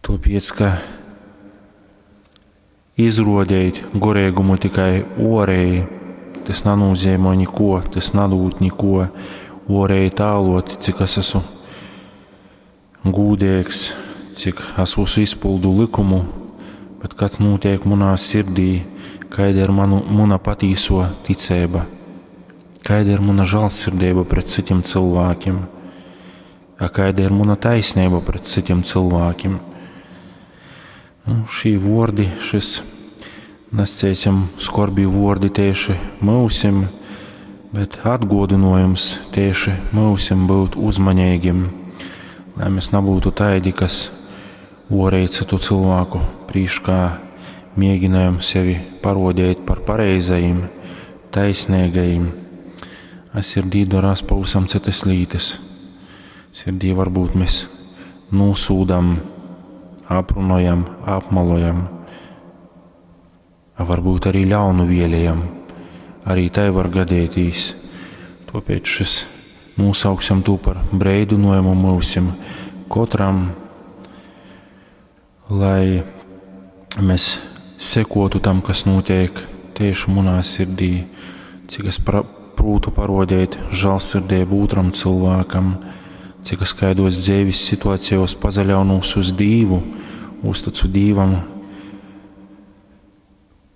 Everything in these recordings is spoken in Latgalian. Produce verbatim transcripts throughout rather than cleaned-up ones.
Tuopiec, ka izruodeit goreigumu tikai uoreji, tas nanūzeimoj nikuo, tas nadūd nikuo. Uoreji tālot, cik es esmu gūdīgs, cik es visu izpildu likumu, bet kas notiek manā sirdī, kāda ir manu, mana patīso ticība, kāda ir mana žēlsirdība pret citiem cilvēkiem, a kāda ir mana taisnība pret citiem cilvēkiem. Nu, šī vordi, šis, nascēsim, skorbi vordi tieši mūsim, bet atgodinojums tieši mūsim būt uzmanīgiem, lai mēs nebūtu taidi, kas orēji citu cilvēku prīškā mēģinājam sevi parodēt par pareizajiem, taisnīgajiem. A sirdī darās pavisam citas lītas. Sirdī varbūt mēs nosūdam, aprunojam, apmalojam, a varbūt arī ļaunu vēlējam. Arī tai var gadētīs. Tāpēc šis nosauksim to par breidinojumu mūsim katram, lai mēs sekotu tam, kas notiek tieši manā sirdī, cik es pra, prūtu parodēt žēlsirdību otram cilvēkam, cik es kaidos dzīves situācijos pazaļaunūs uz Dīvu, uzticu Dīvam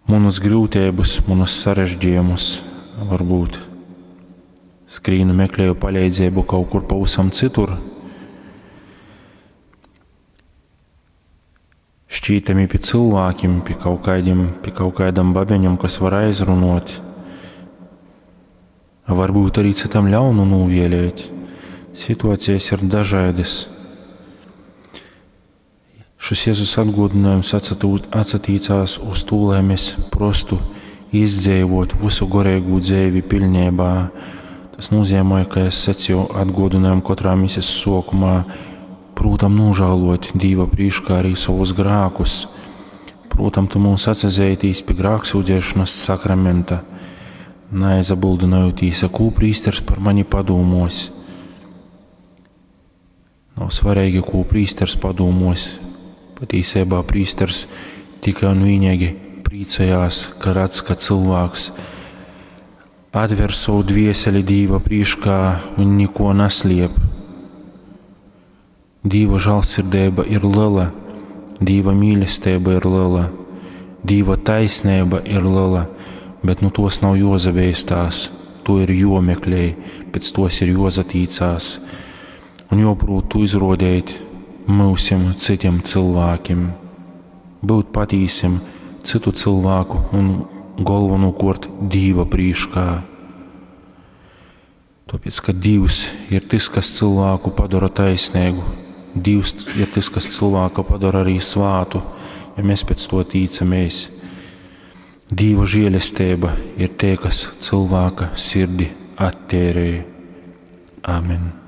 munus grūtības, munus sarežģījumus, varbūt skrīnu meklēju palīdzību kaut kur pavisam citur. Šķītami pie cilvēkiem, pie kaut kādiem, pie kaut kādam babeņam, kas var aizrunot. Varbūt arī citam ļaunu novēlēt. Situācijas ir dažādas. Šis Jēzus atgādinājums atsatīcās uz to, lai mēs prostu izdzīvot visu garīgo dzīvi pilnībā. Tas nozīmē, ka es sacīju atgādinājumu katrā misijas sokumā, prūtam nožēlot Dīva prīškā arī savus grēkus. Prūtam, tu mūs atsazeitīs pie grēksūdzēšanas sakramenta, neaizabildinojotīs, ko prīsters par mani padomos. Nav svarīgi, ko prīsters padomos. Patīsībā prīsters tikai un vienīgi priecājās, ka redz, ka cilvēks atver savu dvieseli Dīva prīškā un neko nesliep. Dīva žēlsirdība ir liela, Dīva mīlestība ir liela, Dīva taisnība ir liela, bet nu tos nav jozabeistās, to ir jomeklē, pēc tos ir jozatīcās un joprūt tu izrodēt mūsim citiem cilvēkiem, būt patīsim citu cilvēku un galvenokārt Dīva prīškā. Tāpēc, ka Dievs ir tas, kas cilvēku padara taisnīgu, Dievs ir tas, kas cilvēku padara arī svātu, ja mēs pēc to tīcamies. Dieva žēlestība ir tie, kas cilvēka sirdi attērē. Amen.